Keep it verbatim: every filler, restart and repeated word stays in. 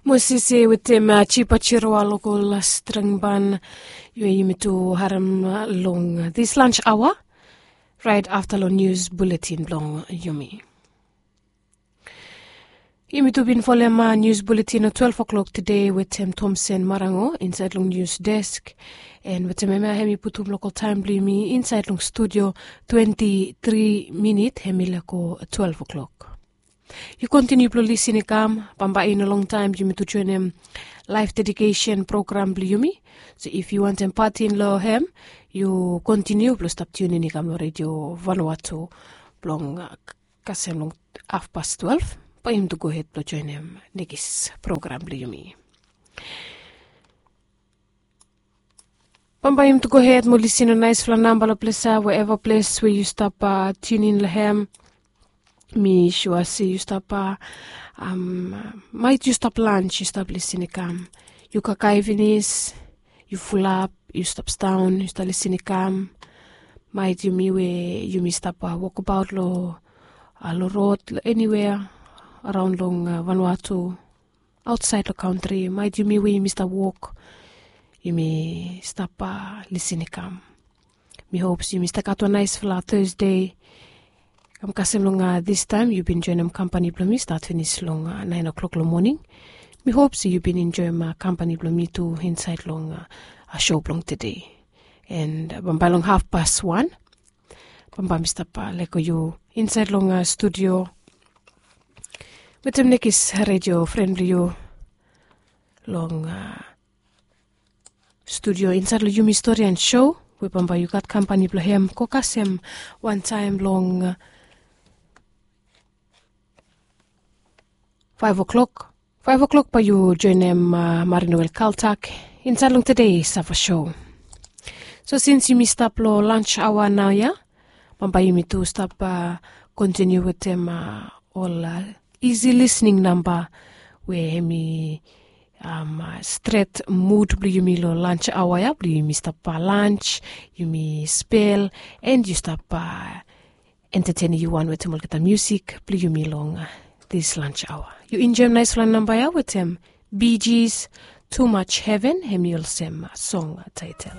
Mosese wetem Chipa Chiroa long ol strengban. Yumi tu harem long this lunch hour, right after long news bulletin blong yumi. Yumi tu bin folem news bulletin long twelve o'clock today wetem Thomson Marango inside long news desk. And wetem hemia hem i putum local time blong yumi inside long studio twenty-three minit hem i leko twelve o'clock. Yu kontiniu blong lisin i kam, bambae i no longtaem yumi tu joenem laef dedication program blong yumi. So if yu wantem patin long hem, yu kontiniu blong stap tiunin i kam long redio Vanuatu blong kasem long hafpas twelve, bae yumi tu gohed blong joenem nekis program blong yumi. Bambae yumi tu gohed mo lisin long naesfala namba long ples ya, wherever ples we yu stap tiunin long hem. Mi sua se yu stap, maet yu stap lans yu stap lisin i kam. Yu kakae finis, yu fulap, yu stap staon yu stap lisin i kam. Maet yumi we yumi stap wokbaot long rod long eniwea araon long Vanuatu, aotsaed long kantri, maet yumi we yumi stap wok, yumi stap lisin i kam. Mi hop se yumi stap gat wan naesfala Thursday. Kam kasem long distaem yu bin joenem kampani blong mi stat finis long naen o'clock long moning. Mi hop se yu bin enjoem kampani blong mi tu insaed long sho blong tede. And bambae long hafpas wan, bambae mi stap leko yu insaed long studio wetem nekis redio fren blong yu long studio insaed long yumi stori and show, we bambae yu gat kampani blong hem go kasem wantaem long faef o'clock. Faef o'clock bae yu joenem Marinoel Kaltak insaed long tede sava show. So sins yumi stap long lans aoa naoia, bambae yumi tu stap kontiniu wetem ol isi lisning namba we hem i stret mud blong yumi long lans aoa ya blong yumi stap lans, yumi spel, and yu stap entetenim yu wan wetem olgeta musik blong yumi long this lans aoa. Yu enjoem naesfala namba ya wetem Bee Gees, Too Much Heaven, hem i olsem song taetel.